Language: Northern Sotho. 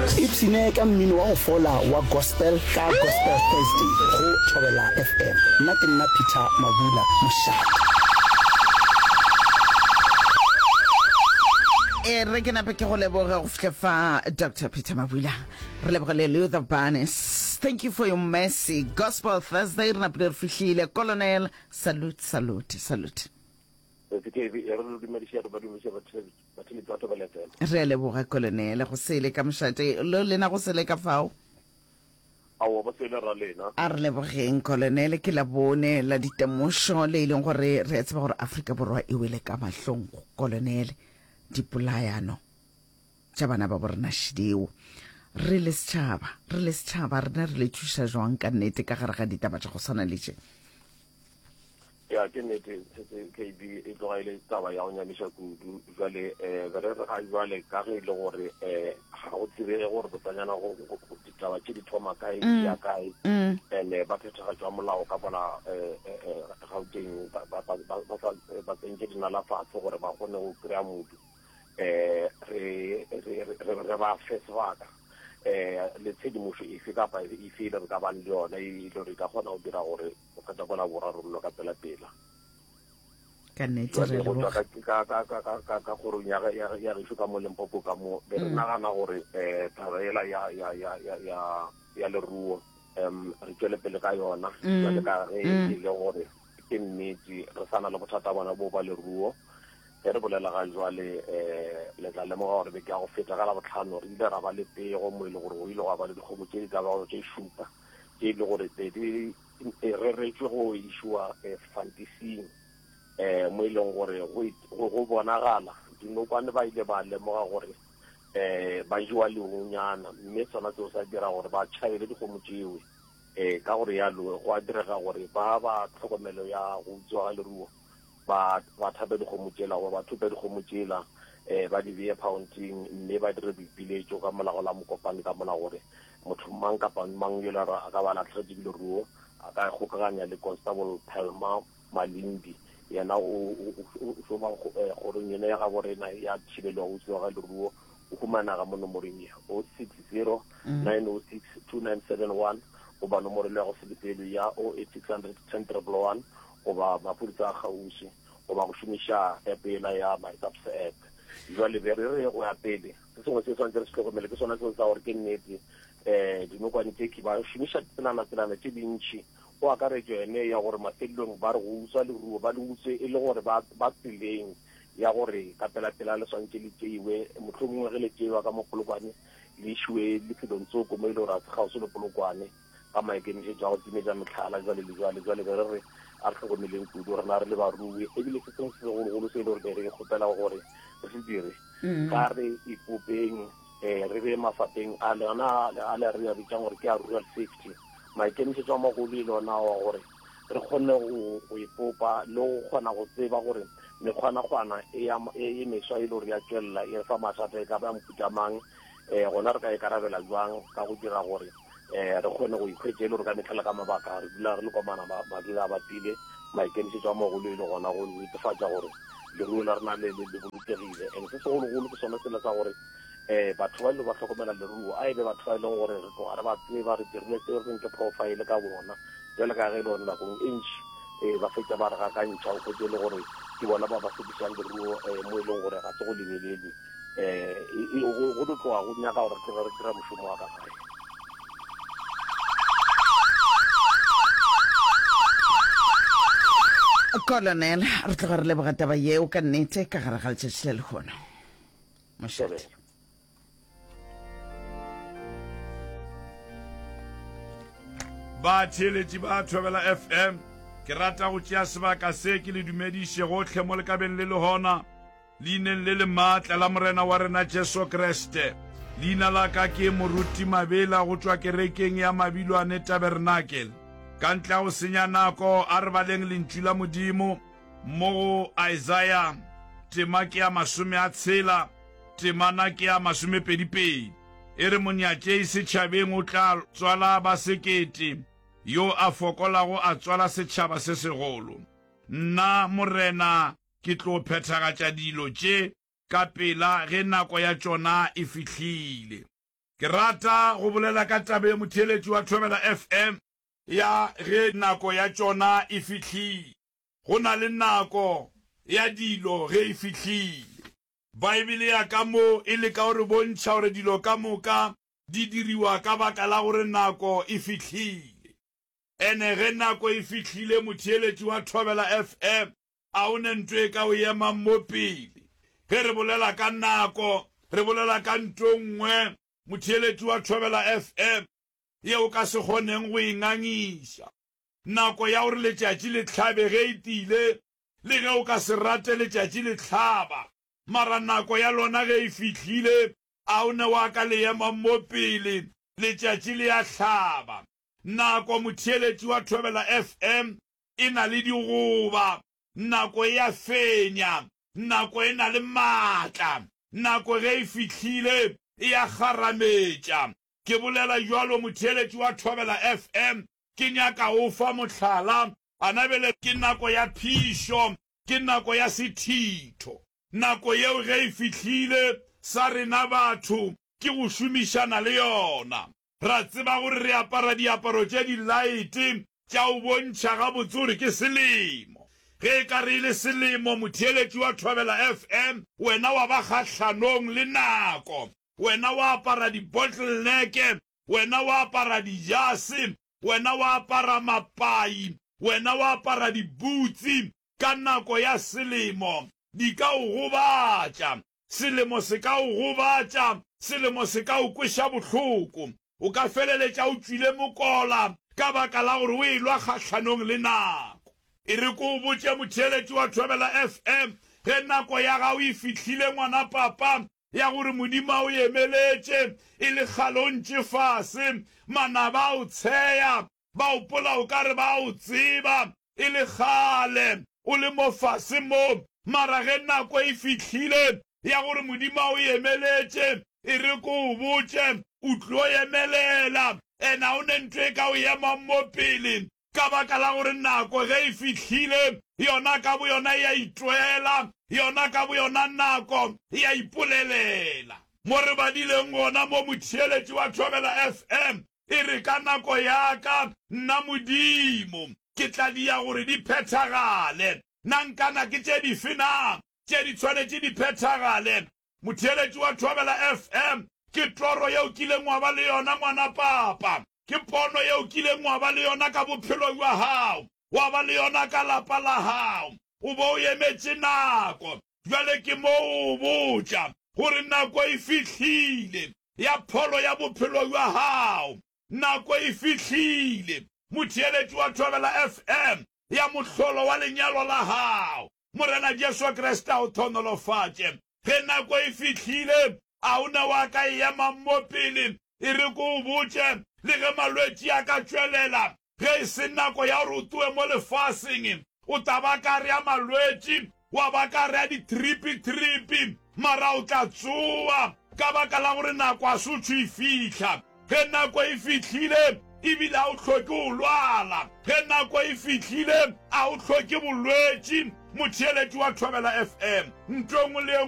Ipshine ka mmino wa go fola wa gospel ka Gospel Thursday go Thobela FM. Nna ke nna Peter Mabula, mošate. E re ke nape ke go leboge go fihla fa Dr. Peter Mabula. Re lebogele Luther Barnes. Thank you for your mercy. Gospel Thursday re napile re fihlile. Colonel, salute, salute, salute. Re a leboga Colonel go sele ka mošate lo lena go sele ka fao. Aowa ba sele ra lena. A re lebogeng Colonel ke la bone la ditemošo le e leng gore re a tseba gore Afrika Borwa e wele ka mahlong Colonel dipolayano tša bana ba borena šideo. Re le setšhaba, re le setšhaba rena re le thuša jwang ka nnete ka gare ga ditaba tša go swana le tše? Ya, ke nnete, setse KB e tloga e le taba ya go nyamiša kudu. Jwale um be re re ga jwale ka ge e le gore um ga go tsebege gore botsanyana go ditaba tše di thoma kae di ya kae, and ba phethagatšo ya molao ka mola um Gauteng ba ba ba ba sa ba tsentše dinala fatshe gore ba kgone go kry-a modu. Um re re re re ba fe sebaka um le tshedimošo efe kapa efe e le re ka bang le yona e le gore e ka kgona go dira gore go feta kola borwa romelo ka pela pela. Ka nnete re Jwale go tšwa ka ka ka ka ka ka ka kgorong ya ya ya gešo ka mo Limpopo ka mo be re nagana gore eh taba ela ya ya ya ya ya ya leruo um re tšwele pele ka yona jwale ka ge e le gore ke nnete re sa na le bothata bona bo ba leruo. Ge re bolela ga jwale um le tla lemoga gore beke ya go feta ka Labohlano re ile ra ba le pego mo e le gore go ile gwa ba le dikgomo tše di ka bago tše šupa tše e le gore be di e reretšwe go išiwa fantising um mo e leng gore go bonagala dinokwane ba ile ba lemoga gore um ba jewa lehunyana mme sona seo sa dira gore ba tšhabele dikgomo tšewe um ka gore yalo go a direga gore ba ba tlhokomelo ya go utswa ga leruo ba ba thape dikgomo tšela goba ba thope dikgomo tšela um ba di beye phaonting mme ba dire boipiletšo ka mola go la mokopane ka mola gore motho mang kapa mang yo le a ka ba latlhegetše ke leruo a ka kgokaganya le Constable Pelma Malindi yena o šoma kgorong yena ya gabo rena ya thibelo ya go utswiwa ga leruo o humanaga mo nomoreng ye 060 906 2971 goba nomoro le ya go selepelo ya 08600 10 111 goba maphodisa a kgauswi goba go šomiša app yela ya My SAPS app. Jwale be re re go ya pele, se sengwe se swanetše re se hlokomele ke sona seo sa gore ke nnete um dinokwane tše ke ba šomiša ditselana-tselana tše dintši go akaretšwa yone ya gore mafelelong ba re go utswa leruo ba le utswe e le gore ba ba tseleng ya gore ka pela-pela le swantše le tšeiwe mohlomongwe ge le tšeiwa ka mo Polokwane le išiwe lefelong tsoko mo e le gore ga se kgauswi le Polokwane. ka maikemišetšo a go timetša mehlala jwale le jwale. Jwale be re re a re hlokomeleng kudu rena re le barui, ebile se sengwe se segologolo se e le gore be re kgopela gore re se dire, ga re ipopeng um re be mafapeng a lona a le re a bitsang gore ke a rural safety. Maikemišetšo a magolo e le ona wa gore re kgone go go ipopa le go kgona go tseba gore mekgwanakgwana e ya e meswa e le gore ya tšwelela e re fa mathata e ka ba mohuta mang, um gona re ka ikarabela jwang ka go dira gore um re kgone go ikhwetša e le gore ka mehla le ka mabaka re dula re le komana madula a bapile maikemišetšo a magolo e le gona go netefatša gore leruo la rena le le bolokegile. And se segologolo ke sone sela sa gore um batho ba ile ba hlokomela leruo a e be batho ba e leng gore re tloga re ba tseba, re dirile seo re reng ke profile ka bona. Bjale ka ge e le gore nakong e ntši um ba fetša ba re gakantšha, o hwetše e le gore ke bona ba ba sekišang leruo um mo e leng gore ga se go lebelelwe. um go tlo tloga go nyaka gore re tloge re dira mošomo wa ka gae. Colonel, re tloga re leboga taba yeo ka nnete ka gare ga letšatši la lehono. Mošate. Batheeletši ba Thobela FM, ke rata go tšea sebaka se ke le dumediše gohle mo le ka beng le le gona. Leineng le le maatla la Morena wa rena Jesu Kriste. Leina la ka ke Moruti Mabela go tšwa kerekeng ya Mabilwane Tabernakel. Ka ntle ga go senya nako, a re baleng Lentšu la Modimo mo go Isaya, tema ke ya masomeatshela, temana ke ya masomepedipedi. E re, Monyatšei setšhabeng o tla tswala ba sekete, yo a fokolago a tswala setšhaba se segolo. Nna, Morena, Ke tlo phethagatša dilo tše ka pela ge nako ya tšona e fihlile. Ke rata go bolela ka taba ye motheeletši wa Thobela FM ya ge nako ya tšona e fihlile. Go na le nako ya dilo ge e fihlile. Baebele ya ka mo e leka go re bontšha gore dilo ka moka di diriwa ka baka la gore nako e fihlile. Ene ge nako e fihlile motheeletši wa Thobela FM a o ne nto e ka o emang mo pele. Ge re bolela ka nako, re bolela ka nto nngwe motheeletši wa Thobela FM ye o ka se kgoneng go e ngangiša. Nako ya gore letšatši le hlabe ge e tile, le ge o ka se rate letšatši le hlaba, mara nako ya lona ge e fihlile, a o ne wa ka le ema mo pele letšatši le ya hlaba. Nako, motheeletši wa Thobela FM, e na le digoba, nako e a fenya, nako e na le maatla, nako ge e fihlile e a kgarametša. Ke bolela bjalo, motheeletši wa Thobela FM, Ke nyaka go fa mohlala. Ana bjale ke nako ya phišo, ke nako ya sethitho. Nako yeo ge e fihlile, sa rena batho ke go šomišana le yona. Ra tseba gore re apara diaparo tše dilaete tša go bontšha gabotse gore ke selemo. Ge e ka re e le selemo, motheeletši wa Thobela FM, wena wa ba kgahlanong le nako. Wena wa apara di-bottleneck Wena wa apara dijase, wena wa apara mapai, wena wa apara dibutsi ka nako ya selemo, di ka o gobatša. Selemo se ka o gobatša, selemo se ka o kweša bohloko. O ka feleletša o tšwile mokola ka baka la gore o elwa kgahlanong le nako. E re ke o botše motheeletši wa Thobela FM, ge nako ya gago e fihlile ngwana papa, ya gore Modimo a o emeletše e le kgale o ntše fase, manaba a o tsheya, ba opola o ka re ba a o tseba e le kgale o le mo fase mo, mara ge nako e fihlile ya gore Modimo a o emeletše, e re ke o botše, o tlo emelela, and ga o ne ntho e ka o emang mo pele, Ka baka la gore nako ge e fihlile, yona ka boyona e a itwela, yona ka boyona nako e a ipolelela. Mo re badileng gona mo, motheeletši wa Thobela FM, e re, Ka nako ya ka, nna Modimo, ke tla dia gore di phethagale. Na nkana ke tše dife na tše di tshwanetše di phethagale? Motheeletši wa Thobela FM, Ke toro ye o kileng wa ba le yona, ngwana papa. Ke pono ye o kileng wa ba le yona ka bophelo bja gago, wa ba le yona ka lapa la gago. O be o emetše nako. Bjale ke mo o botša gore nako e fihlile ya pholo ya bophelo bja gago. Nako e fihlile, motheeletši wa Thobela FM, ya mohlolo wa lenyalo la gago. Morena Jesu Kriste a o thonolofatše. Ge nako e fihlile, a o na wa ka e emang mo pele? E re ke o botše, le ge malwetši a ka tšwelela, ge e se nako ya gore o tloge mo lefaseng, o tla ba ka re a malwetši, wa ba ka re a ditripi-tripi, mara o tla tsoa, ka baka la gore nako a se tšho e fihla. Ge nako e fihlile, e bile a o hloke go lwala. Ge nako e fihlile, a o hloke bolwetši. Motheeletši wa Thobela FM, nto e nngwe le e.